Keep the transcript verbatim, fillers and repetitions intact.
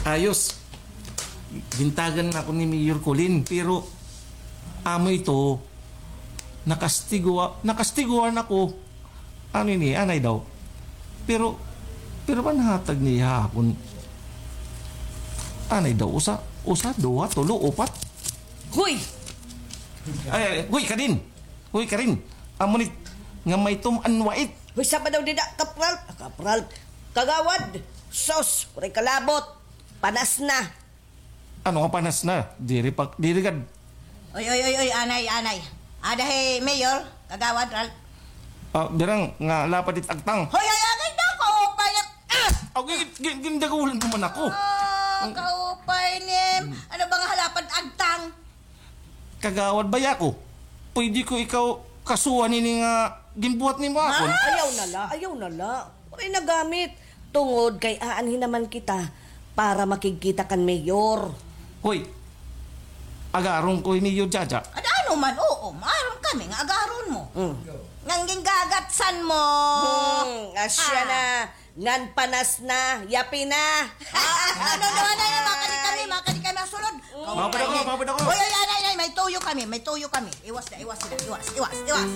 Ayos. Gintagan na ako ni Mayor Colin, pero amo ito, nakastigo, nakastiguan ako. Ano ini, anay daw. Pero, pero panhatag niya ha akon. Anay daw, usa, usa, duha, tulo, upat. Hoy! Ay, ay, hoy, Karin! Hoy, Karin! Amo ni nga may tum-an wait. Hoy, saba daw dida, Kapral, Kapral, Kagawad, sus, waray kalabot, panas na. Ano nga panas na? Diri pa, diri gad. Oy, oy, oy, oy, anay, anay. Ada hi Mayor, Kagawad, Ralph. Ah, birang nga lapad it agtang. Hoy, hoy, agay na, kaupay na. Ah! Ako, gin-, gin-, gindagulan naman ako. Ah, kaupay ni. Ano ba nga halapad agtang? Kagawad, baya ko. Pwede ko ikaw kasuhan ini nga ginbuhat nimo akon? Ayaw na la, ayaw na la. Waray na gamit. Tungod kay aanhi naman kita para makigkita kan mayor. Hoy, agaron ko hi Mayor Jaja. Ada ano man, oo, maaram kami nga agaron mo. Mm. Ngan gingagatsan mo. Hmm, asya na. Ngan panas na, yapi na. Ah, ano, ano, ano, ano, makadi kami, makadi kami ang sulod. Mapad ako, mapad ako. Oy, oy, anay, anay, may tuyo kami, may tuyo kami. Iwas na, iwas na, iwas, iwas, iwas.